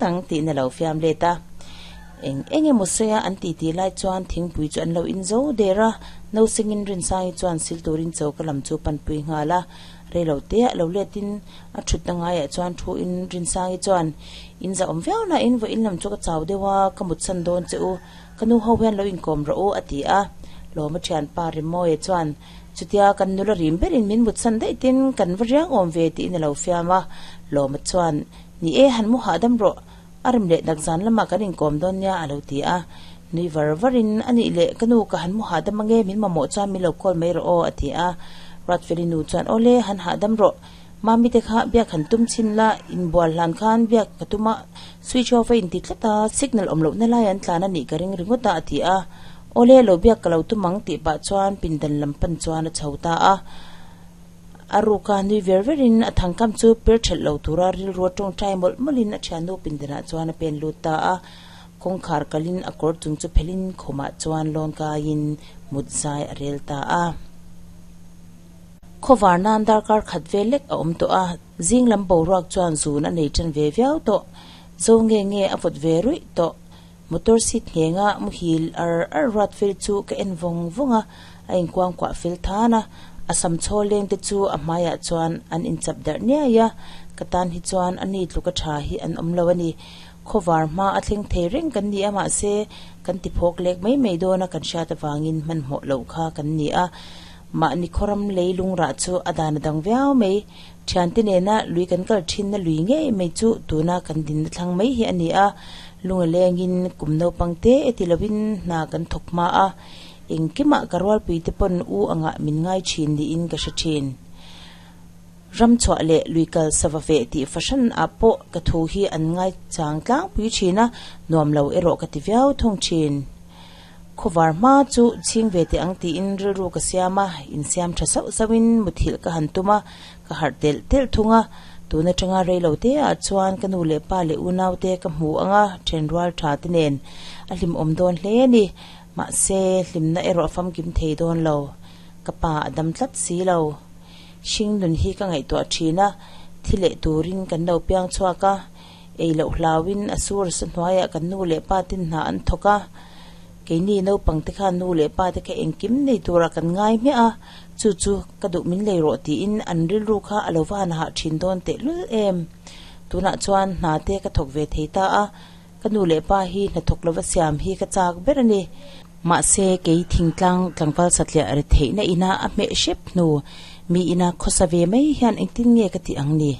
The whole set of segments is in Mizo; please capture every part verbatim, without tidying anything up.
ang tiin a lo fiam let a. Eng eng emaw sawi a an titi lai chuan thingpui chu an lo in zo der a, no sengin Rinsangi chuan sil turin choka lam chu panpui nghal a. Reilo te ah lo letin a thutna ngaiah chuan thu in Rinsangi chuan in za awm viau na in vawiin lam chu ka chau deuh a, ka mut san dawn che u, ka nu ho hian lo inkawm rawh u a ti a. Lawma thianpa Rimawia chuan chutia kan nula rim berin min mut san daih tin kan va riang awm ve tiin a lo fiam a. Lawma chuan ni e han mu hahdam rawh, a rem leh dak zan lamah kan inkawm dawn nia a lo ti a. Nui var varin a nih leh ka nu ka han mu hahdam ange min mamawh chuan min lo call mai rawh aw a ti a. Ruatfeli nu chuan awle han hahdam rawh, mami te kha biak han tum chhin la, inbual hlan khan biak ka tum a, switch off a inti tlat a, signal awm lohna lai an tlan a nih ka ring ringawt a a ti a. Awle lo biak ka lo tum ang tih pah chuan pindan lam pan chuan a chho ta a. A ruka nui ver verin a thangkam chu per thelh lo tura rilru tawngtai mawlh mawlhin a thiannu pindanah chuan a pen lut ta a. Kawngkhar kalin a kawr chung chu phelin khumah chuan lawn kaiin mut zai a rel ta a. Khawvar nan darkar khat vel lek a awm tawh a, zing lam boruak chuan zun a nei tan ve viau tawh. Zo nge nge a vawt ve ruih tawh. Motor seat nghenga muhil ar ar ruat fel chu ka en vawng vawng a, a inkuang kuah fel than a. A sam chhaw leng te chu a hmaiah chuan an inchap darh niai a, ka tan hi chuan a ni tluka tha hi an awm lo a ni. Khawvar hma a thleng thei reng kan ni a, mahse kan ti phawk lek mai mai dawn a kan hriat avangin hmanhmawh loh kha kan ni a. Mahni khawram lei lungrah chu a dan a dang viau mai. Thiante nena lui kan kal thinna lui ngei mai chu tuna kan dinna thlang mai hi a ni a. Lunga lengin kum naupang te e ti lovin hna kan thawk hma a, engkimah ka rualpui te pawn u angah min ngai thin niin ka hre thin. Ram chhuah leh lui kal sava veh tih fahran ah pawh ka thu hi an ngai chang tlangpui thin a, nuam lo erawh ka ti viau thung thin. Khawvar hma chu chhing ve teh ang tiin rilru ka siam a, insiam tha sauh sauhin muthilh ka han tum a, ka harh telh telh thung a. Tun atanga reilo te ah chuan ka nu leh pa leh unau te ka hmu anga then rual tha te nen a hlim awm dawn hle a ni. Mahse hlimna erawh a famkim thei dawn lo, ka pa a dam tlat si lo. Hring nun hi ka ngaihtuah thin a, thi leh turin kan lo piang chhuak a, ei loh hlauin a sur sa hnuaiah kan nu leh pa ten hna an thawk a. Keini naupang te khan nu leh pa te kha engkim nei turah kan ngai hmiah a, chu chu ka duh min lei rawh tiin an rilru kha a lo va han hah thin dawn tehlul em. Tunah chuan hna te ka thawk ve thei ta a, ka nu leh pa hi hnathawk lova siam hi ka chak ber a ni. Mahse kei thingtlang tlangval satliah ri theihna ina a hmeh hrep hnu mi ina khawsa ve mai hian engtin nge ka tih ang ni.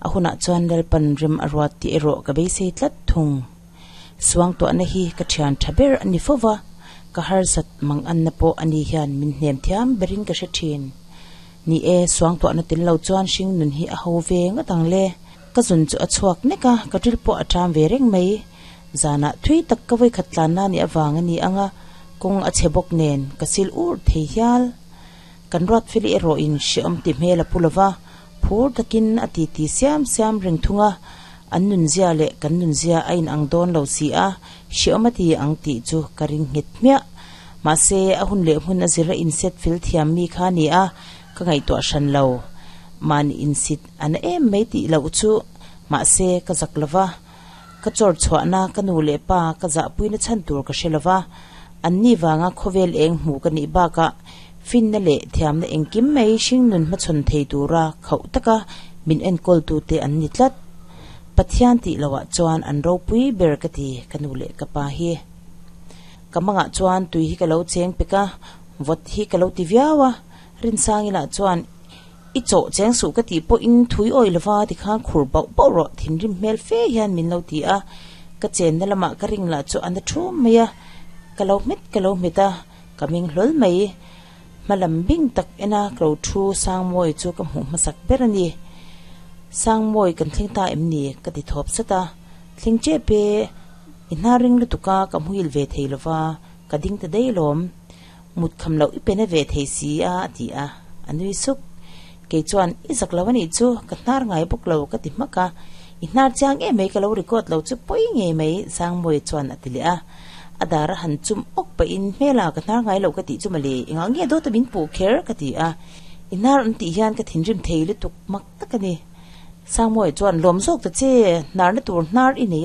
A hunah chuan Lalpan rem a ruat tih erawh ka beisei tlat thung. Suangtuahna hi ka thian tha ber a ni fova, ka harsat mang anna pawh a ni hian min hnem thiam berin ka hre thin. Ni e, suangtuahna tel lo chuan hring nun hi a ho ve ngawt ang le. Ka zun chu a chhuak nek a, ka ril pawh a ṭam ve reng mai. Zanah thui tak ka vawikhat tlanna nih avang a ni ang a, kawng a chhe bawk nen ka sil ur thei hial. Kan Ruatfeli erawhin hrehawm ti hmel a pu lova, phur takin a titi siam siam reng thung a, an nunzia leh kan nunzia a inang dawn lo si a, hrehawm a ti ang tih chu ka ring nghet hmiah. Mahse a hun leh hmun a zir a inset fel thiam mi kha a ni a, ka ngaihtuah hran lo. Mahni insit a na em mai tih loh chu, mahse ka zak lova, ka chawr chhuahna ka nu leh pa ka zahpuina chhan tur ka hre lova, an ni vanga khawvel eng hmuh ka nih bakah finna leh thiamna engkim mai hring nun hmachhawn thei tura khauh taka min enkawltute an ni tlat. Pathian tih lohah chuan an ropui ber ka ti ka nu leh ka pa hi. Ka mangah chuan tui hi ka lo cheng pek a, vawt hi ka lo ti viau a, Rinsangila chuan i chawh cheng suh ka tih pawhin thui awih lova tikhan khur bauh bauh rawh thinrim hmel fe hian min lo ti a, ka chenna lamah ka ring lah chu a na thum mai a, ka lo hmet ka lo hmet a, ka ming hlawl mai. Hmalam bing tak ena ka lo thu Sangmawi chu ka hmuh hmasak ber a ni. Sangmawi kan thleng ta em ni? Ka ti thawp sat a, thleng chep e, i hna ring lutuk a ka hmuhil ve thei lova, ka ding ta daih alawm. Mut kham loh i pe na ve thei si a a ti a, a nui suk. Kei chuan i zak lo a nih chu, ka hnar ngai bawk lo ka ti hmak a, i hnar chiang em mai ka lo record lo chu pawi ngei mai Sangmawi chuan a ti leh a. A dar a han chum awk pahin hmela ka hnar ngai lo ka tih chu mawle, engah nge dawta min puh kher ka ti a, i hnar an tih hian ka thinrim thei lutuk mak tak a ni. Sangmawi chuan lawm zawk ta che, hnarna tur hnar i nei